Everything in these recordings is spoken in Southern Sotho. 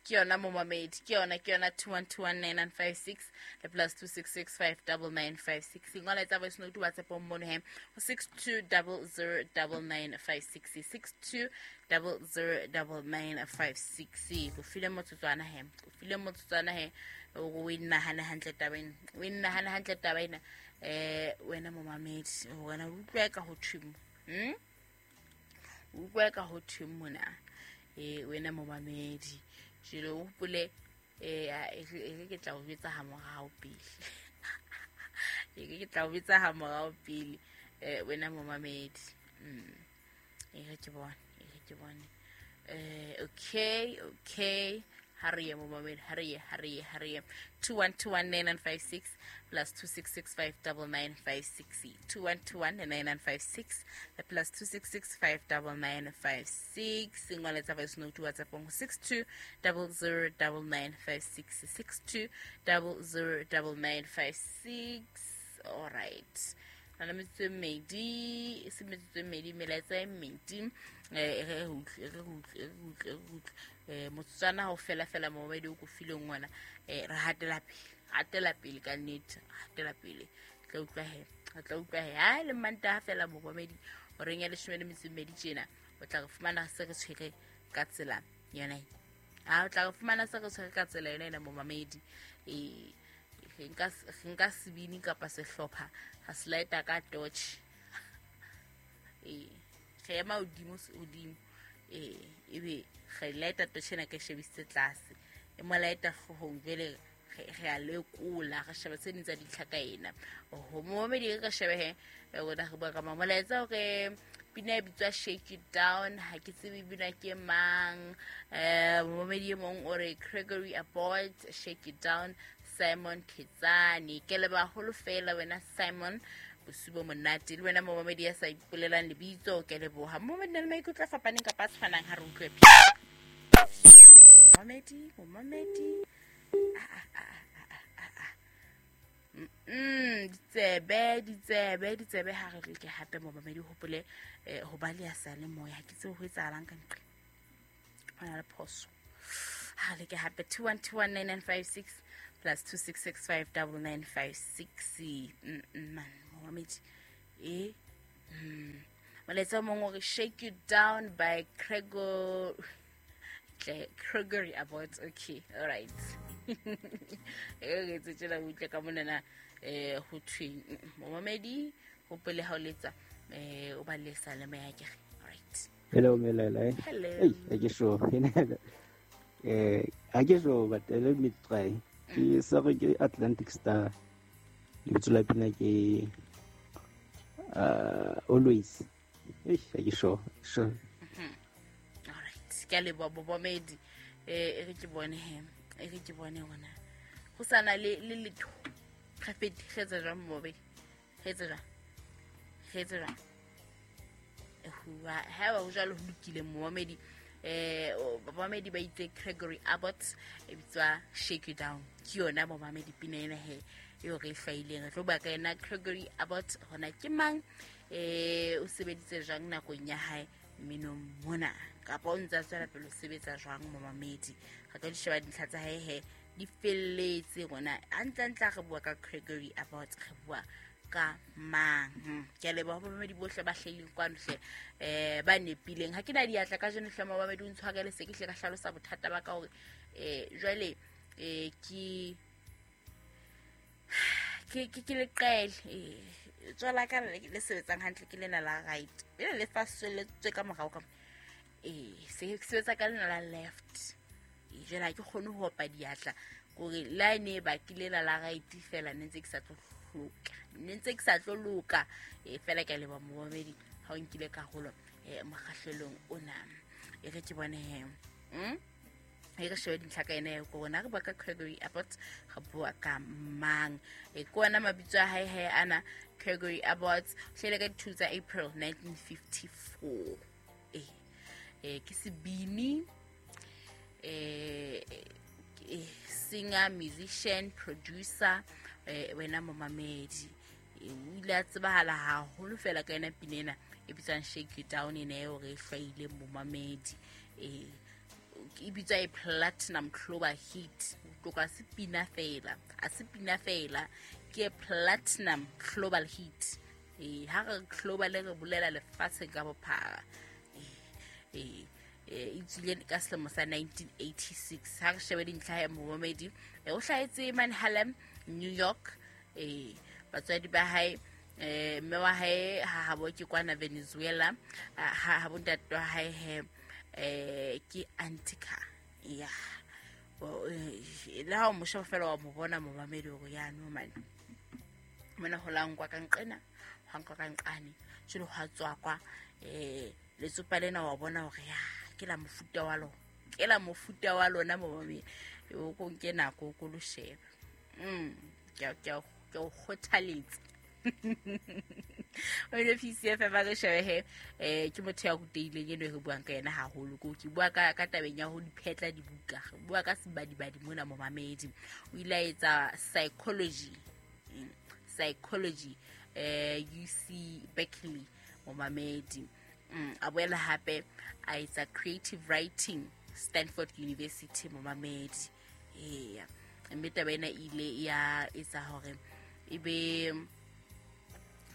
Ke yona momamedi, ke yona, ke yona 21219956 le plus 26659956. Ngola etsa voice note WhatsApp mono he ho 62009956, 62009956. O file motsotswana he, o file motsotswana he o e nahane hantle taba ena, o e nahane hantle taba ena. Wena momamedi, wena o utlwa ka ho thweng? O utlwa ka ho thweng mona? Wena momamedi, jelo o hopole, e re ke tla o jwetsa ha morao pele. E re ke tla o jwetsa ha morao pele, wena momamedi. E re ke bone, e re ke bone. Okay, okay. Ha re ye momamedi, ha re ye, ha re ye, ha re ye. 21219956 plus 26659956. 21219956 plus 26659956. Ngola tsa voice note WhatsApp ho 62009956, 62009956. All right. Na le metsotso e mmedi, e se metsotso e mmedi, melaetsa e mmedi. E re utlwe, e re utlwe, e re utlwe, e re utlwe. Motsotswana ha o fela fela momamedi o ko fileng ona, re hatela pele, hatela pele ka nnete, hatela pele. Tla utlwa he, re tla utlwa he. Ha le Mantaha fela momamedi, horeng ya 12 tjena, o tla re fumana se re tshwere ka tsela yona e. Ha o tla re fumana se re tshwere ka tsela yona ena momamedi. Re nka sebini kapa sehlopha, ra se lighta ka torch. Re ema hodimo, hodimo. Ebe re lighta torch ena ke shebisitse tlase. E mo lighta hloohong, jwale re a lekola, re sheba tse ding tsa dintlha ka ena. Oho, momamedi, re ka shebe he, rona re bua ka molaetsa hore pina e bitswa Shake It Down, ha ke tsebe bina ke mang. Momamedi e mong o re Gregory Abbott, Shake It Down, Simon Khetsane. Ke leba haholo fela wena Simon, bosiu bo monate. Le wena momamedi ya sa ipolelang lebitso, ke leboha. Momamedi na le maikutlo a fapaneng kapa a tshwanang, ha re utlwe. Momamedi, momamedi. Ditsebe, ditsebe, ditsebe ha re leke hape momamedi, hopole, ho ba le ya sa le moya, ha ke tsebe ho etsahalang ka ntle. Ho na le phoso. Ha re leke hape 21219956 plus 26659956. Man, momamedi. Molaetsa o mong o re Shake You Down by Gregor Gregory Abbott. Okay, all right. E re etse tjena o utlwe ka monana, ho thweng momamedi, hopole ha o letsa, o ba le sa le moya kere. All right. Hello, Melele. Hello. Hey, ha ke sure. Ha ke sure, but let me try. Ke sorry, ke Atlantic Star. Lebitso la pina ke Always. Hey, ha ke sure. Sure. All right. Ke a leboha momamedi. E re ke bone he. E re ke bone hona. Ho sana le le letho. Re fete, re etse jwang momamedi? Re etse jwang? Re etse jwang? Hua, ha ba ho jwalo ho lokile momamedi. Momamedi ba itse Gregory Abbott e bitswa Shake You Down. Ke yona momamedi pina ena he eo re e hlwaileng. Re tlo bua ka yena Gregory Abbott hona ke mang, o sebeditse jwang nakong ya hae mminong mona, kapa o ntse a tswela pele ho sebetsa jwang momamedi. Re tlo di sheba dintlha tsa hae he di felletse rona. Hantlentle ha re bua ka Gregory Abbott, re bua ka mang? Ke a leboha bamamedi bohle ba hlahileng kwano hle, ba nepileng. Ha ke na diatla kajeno hle momamedi, o ntshwarele, se ke hle ka hlalosa bothata ba ka hore, jwale, ke leqele. Tswala ka le sebetsang hantle ke lena la right, lena le faselletswe ka morao ka mo. Se sebetsa ka lena la left. Jwale ha ke kgone ho opa diatla kore la e ne e bakile lena la right fela, ne ntse ke sa tlo hloka, ne ntse ke sa tlo loka. Fela ke a leboha momamedi ha o nkile karolo, mokgahlelong ona. E re ke bone he. E re shebe dintlha ka ena ya ko rona. Re bua ka Gregory Abbott, re bua ka mang? Ke ona mabitso a hae he ana. Gregory Abbott o hlahile ka di-2 tsa April 1954. Ke sebini, singer, musician, producer, wena momamedi. O ile a tsebahala haholo fela ka yona pina ena e bitswang Shake You Down, ena eo re e hlwaileng momamedi. E bitswa e platinum global hit. Tloka se pina fela, a se pina fela, ke platinum global hit. Ha re global re bolela lefatshe ka bophara. E tswile ka selemo sa 1986. Ha re shebe dintlha ya momamedi, o hlahetse mane Harlem, New York. Batswadi ba hae, mme wa hae ha habo ke kwana Venezuela, ha bontate wa hae he ke Antica. Ya le ha o mo sheba fela wa mo bona momamedi hore ya no man mona ho la nkwa ka nqena, ha nkwa ka nqane, jwale ho tswa kwa letsopa lena wa bona hore ya ke la mofuta wa lona, ke la mofuta wa lona momamedi. O ko nke nako ko lo sheba. Ke o kgothaletsa. O ile PCF ba re shebe he, ke motho ya ruteileng eno re buang ka yena haholo. Ke bua ka tabeng ya ho diphetla dibuka, re bua ka sebadibadi mona momamedi. O ile a etsa psychology UC Berkeley momamedi. A boela hape a etsa creative writing Stanford University momamedi. Eya, mme taba ena ile ya etsa hore ebe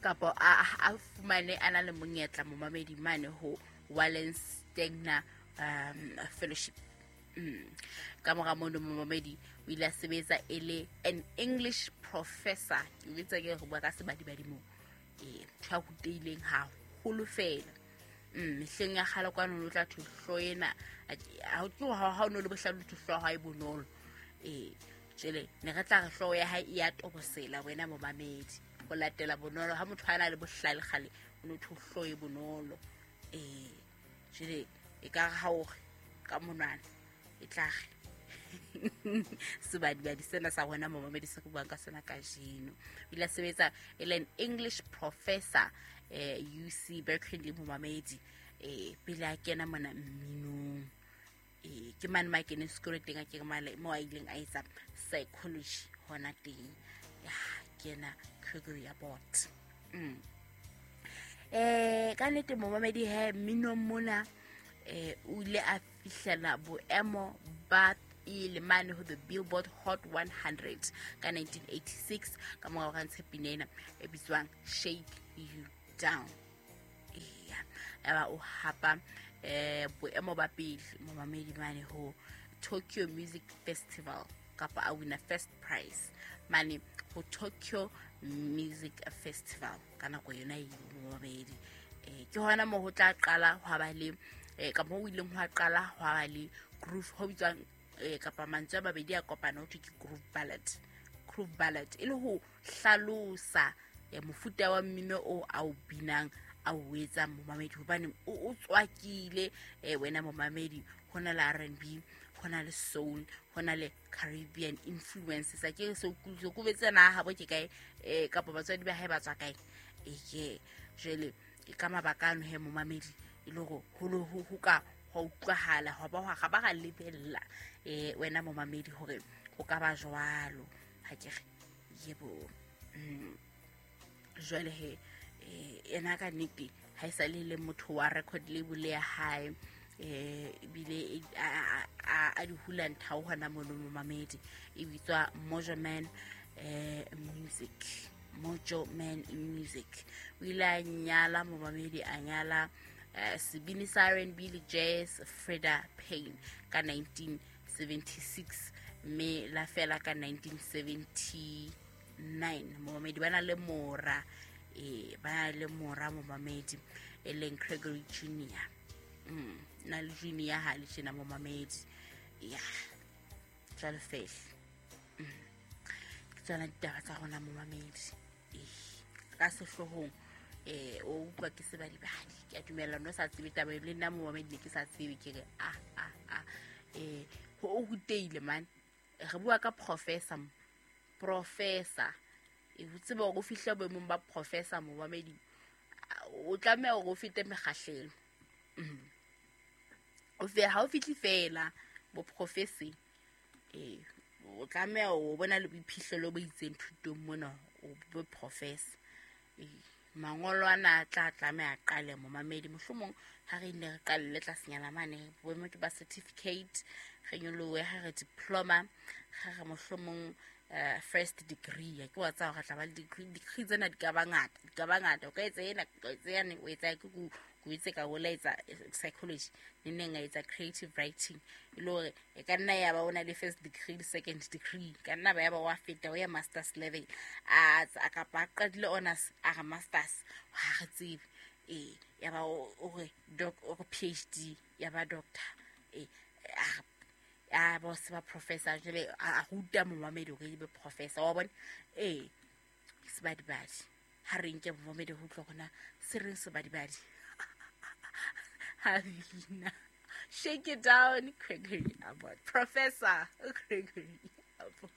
kapa a fumane a na le monyetla momamedi mane ho Wallenstein Fellowship. Ka mora mono momamedi o ile a sebetsa e le an English professor. Ke bitsa ke re bua ka sebadibadi moo. Ntho ya ruteileng haholo fela. Mehleng ya kgale kwano o tla thuhlo ena, ha o no le bohlale thuhlo ha e bonolo. Jwale ne re tla re hlooho ya hae e ya tobosela wena momamedi. Ho latela bonolo ha motho a na le bohlale kgale o no thuhlo e bonolo. Jwale e ka re ha o re ka monwana e tla re sebadibadi sena sa rona momamedi se re buang ka sona kajeno. O ile a sebetsa e le an English professor UC Berkeley momamedi, pele a kena mona mminong. Ke mane ma keneng sekolo teng, a ke male mo a ileng a etsa psychology hona teng. Ya kena Gregory Abbott. Ka nnete momamedi he mminong mona, o ile a fihlela boemo ba pele mane ho the Billboard Hot 100 ka 1986 ka mora hore a ntshe pina ena e bitswang Shake You Down. Eya, eba o hapa boemo ba pele momamedi mane ho Tokyo Music Festival, kapa a wina first prize mane ho Tokyo Music Festival ka nako yona eo momamedi. Ke hona moo ho tla qala hwa ba le ka moo o ileng hwa qala hwa ba le groove ho bitswang kapa mantswe a mabedi a kopana ho thwe ke groove ballad. Groove ballad e le ho hlalosa mofuta wa mmino o a o binang a o etsang momamedi, hobane o tswakile wena momamedi. Ho na le R&B, ho na le soul, ho na le Caribbean influences. A ke se o kubetse na ha bo ke kae, kapa batswadi ba hae ba tswa kae. Ke jwale ke ka mabaka ano he momamedi e le hore ho ka ho utlwahala ho ba ga ba ga lebella wena momamedi hore ho ka ba jwalo. Ha ke re yebo. Jwale he ena ka nnete ha e sa le motho wa record label ya hae, ebile a di hula nthao hona mono momamedi. E bitswa Mojo Man Music. Mojo Man Music. O ile a nyala momamedi, a nyala sebini sa R&B le jazz Freda Payne ka 1976, mme la fela ka 1979. Momamedi ba na le mora, ba na le mora momamedi e leng Gregory Junior. Na le Junior ha le tjena momamedi. Ya jwale fela. Ke tsona ditaba tsa rona momamedi. Ka sehlohong o utlwa ke sebadibadi. Ke a dumela no sa tsebe taba le nna momamedi ne ke sa tsebe, ke re a ho o ruteile man. Re bua ka professor. E ho tseba hore o fihle boemong ba professor momamedi, o tlameha hore o fete mekgahlelo. O fe ha o fihle fela bo professor, o tlameha o bona le boiphihlelo bo itseng thutong mona o be professor. Mangolo ana a tla tlameha qale momamedi, mohlomong ha re nne re qalelle tlasenyana mane boemo ke ba certificate, re nyolohe ha re diploma, ha re mohlomong first degree. Ya ke wa tseba hore re tla ba le degree tsena di ka ba ngata, di ka ba ngata. O ka etsa ena, o ka etsa yane, o etsa ke ko itse ka o la etsa psychology, ne neng a etsa creative writing, e le hore e ka nna ya ba o na le first degree le second degree, ka nna ba ya ba wa feta o ya masters level, a kapa a qadile honors a re masters, ha re tsebe. Ee, ya ba o re doc, o re PhD, ya ba doctor, ee, a ba se ba professor, jwale a ruta momamedi hore e be professor, wa bona. Ee, sebadibadi, ha re nke momamedi ho utlwa hore na se reng sebadibadi. Havina, shake it down, Gregory Abbott, Professor Gregory Abbott.